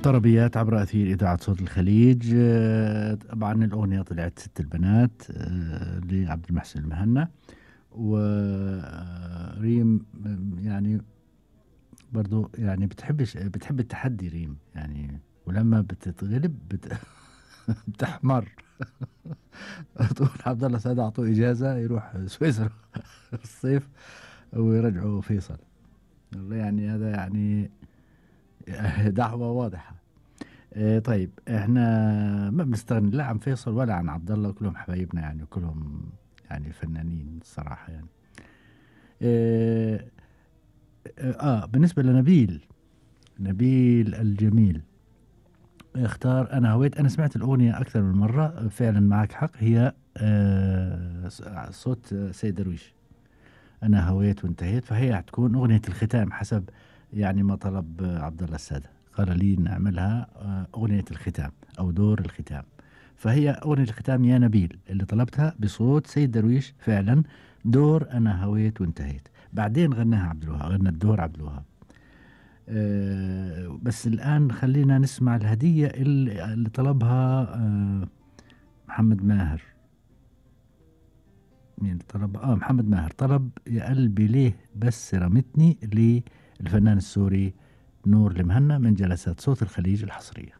طربيات عبر أثير إذاعة صوت الخليج. طبعا الأغنية طلعت ست البنات لعبد المحسن المهنا، وريم يعني برضو يعني بتحب التحدي ريم يعني، ولما بتتغلب بتحمر. تقول عبد الله سعد أعطوه إجازة يروح سويسرا الصيف ويرجعوا فيصل. والله يعني هذا يعني دعوة واضحة. طيب احنا ما بنستغني لا عن فيصل ولا عن عبد الله، كلهم حبايبنا يعني، وكلهم يعني فنانين الصراحة يعني. اه, بالنسبة لنبيل، نبيل الجميل اختار أنا هويت. أنا سمعت الأغنية أكثر من مرة، فعلا معك حق، هي صوت سيد درويش، أنا هويت وانتهيت، فهي هتكون أغنية الختام حسب يعني ما طلب عبد الله السادة، قال لي نعملها أغنية الختام أو دور الختام. فهي أغنية الختام يا نبيل اللي طلبتها بصوت سيد درويش فعلا، دور أنا هويت وانتهيت. بعدين غناها عبد الوهاب، غنى الدور عبد الوهاب. بس الآن خلينا نسمع الهدية اللي طلبها محمد ماهر. مين طلب؟ محمد ماهر طلب يا قلبي ليه بس رمتني، للفنان السوري نور المهنا من جلسات صوت الخليج الحصرية.